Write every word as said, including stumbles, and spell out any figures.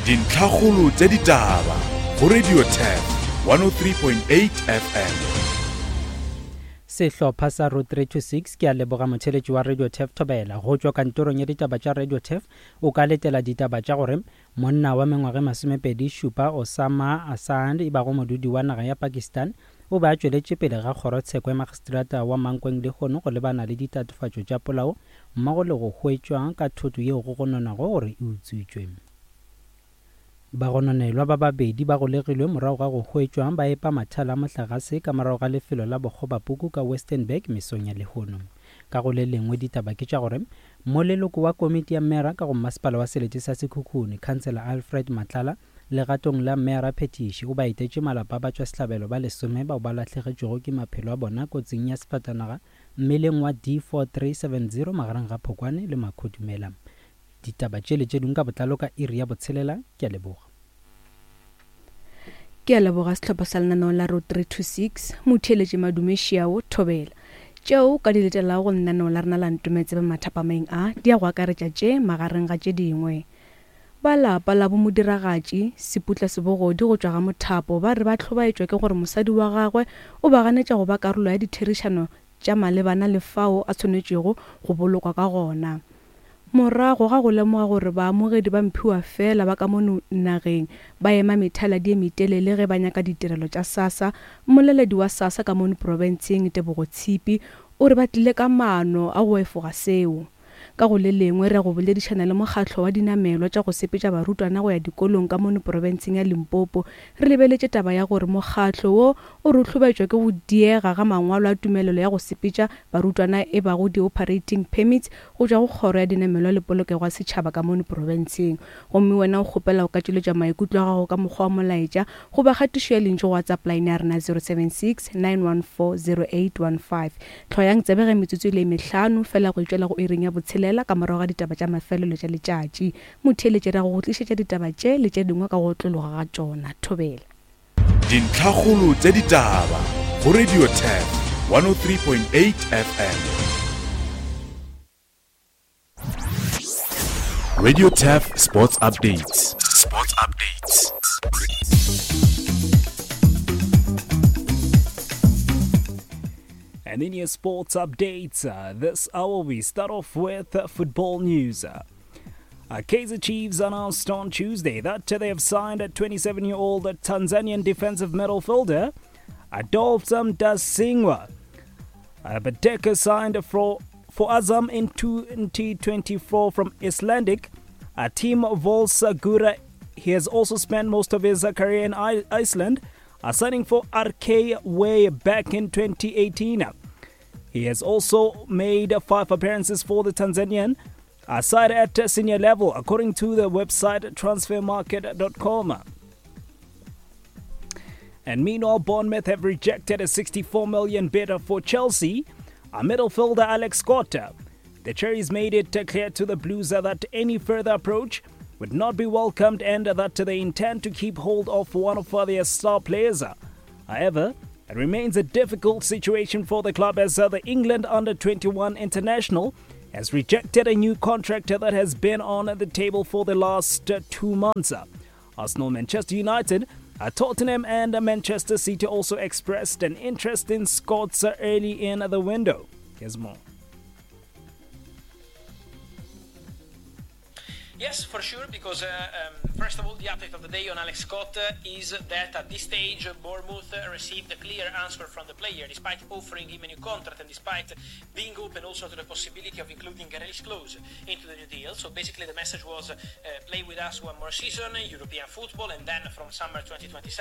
Dintlhakgolo tša ditaba go Radio Turf one oh three point eight F M. Sehlopha sa Road three two six ke a leboga motheletši wa Radio Turf Thobela. Go tšwa kantorong ya ditaba tša Radio Turf o ka letela ditaba tša gore monna wa mengwaga masomepedi šupa Osama Asand e bago modudi wa naga ya Pakistan o be a tšweletše pele ga kgorotsheko ya magistrata wa Mankweng lehono go lebana le ditatofatšo tša polao mmogo le go hwetšwa ka thoto yeo go gononwago gore e utswitšwe. Bagononelwa ba babedi ba golegilwe morago ga go hwetšwa ba epa mathala a mohlagase ka morago ga lefelo la bokgobapuku ka Westernburg mesong ya lehono. Ka go le lengwe ditaba ke tša gore moleloko wa komiti ya mera ka go masepala wa selete sa Sekhukhune, Councillor Alfred Matlala, legatong la mera Phetiši o ba etetše malapa ba tšwa sehlabelo ba lesome bao ba lahlegetšwego ke maphelo a bona kotsing ya sefatanaga mmeleng wa D four three seven zero magareng ga Phokwane le Makhodumela. Ditaba tše le tše dingwe ka botlalo ka iri ya botshelela. Ke a leboga. Ke a leboga sehlopha sa lenaneo la Road three two six, motheeletši Madume Šiao Thobela. Tšeo ka di letelago go lenaneo la rena la Ntometsebe mathapameng a di a go akaretša tše magareng ga tše dingwe. Ba lapa la bomodiragatši Seputla Sebogodi go tšwa ga Mothapo ba re ba hlobaetšwa ke gore mosadi wa gagwe o ba ganetša go ba karolo ya ditherišano tša malebana le fao a tshwanetšego go bolokwa ka gona. Morago ga go lemoga gore baamogedi ba mphiwa fela ba ka mono nageng ba ema methaladi e metelele ge ba nyaka ditirelo tša SASSA, mmoleledi wa SASSA ka mono profenseng Tebogo Tshipi o re ba tlile ka maano a go efoga seo. Ka go le lengwe re go boledišana le mokgatlo wa dinamelwa tša go sepetša barutwana go ya dikolong ka mono profenseng ya Limpopo, re lebeletše taba ya gore mokgatlo wo o re hlobaetšwa ke go diega ga mangwalo a tumelelo ya go sepetša barutwana e bago di-operating permits go tšwa go kgoro ya dinamelwa le polokego ya setšhaba ka mono profenseng. Gomme wena o kgopela go ka tšweletša maikutlo a gago ka mokgwa wa molaetša goba kgatišo ya lentšu go WhatsApp line ya rena zero seven six nine one four zero eight one five. Hloyang tsebe ge metsotso e le mehlano fela go itšwela go iring ya botshelela ka morago ga ditaba tša mafelelo tša letšatši. Motheeletši ra go go tlišetša ditaba tše le tše dingwe ka go otlologa ga tšona. Thobela. Dintlhakgolo tša ditaba go Radio Turf one oh three point eight F M. Radio Turf Sports Updates. Sports Updates. And in your sports updates, uh, this hour we start off with, uh, football news. Uh, uh, Kaizer Chiefs announced on Tuesday that they have signed a twenty-seven-year-old Tanzanian defensive midfielder, Adolf Mtasingwa. Uh, Badeka signed for, for Azam in twenty twenty-four from Icelandic a team Volsagura. He has also spent most of his career in I-, Iceland, uh, signing for R K way back in twenty eighteen. He has also made five appearances for the Tanzanian side at senior level, according to the website transfer market dot com. And meanwhile, Bournemouth have rejected a sixty-four million bid for Chelsea, a midfielder Alex Scott. The Cherries made it clear to the Blues that any further approach would not be welcomed and that they intend to keep hold of one of their star players. However, it remains a difficult situation for the club as the England under twenty-one international has rejected a new contract that has been on the table for the last two months. Arsenal, Manchester United, Tottenham and Manchester City also expressed an interest in Scott's early in the window. Here's more. Yes, for sure, because, uh, um, first of all, the update of the day on Alex Scott, uh, is that at this stage, Bournemouth, uh, received a clear answer from the player, despite offering him a new contract and despite being open also to the possibility of including a release clause into the new deal. So basically the message was, uh, play with us one more season, European football, and then from summer twenty twenty-seven,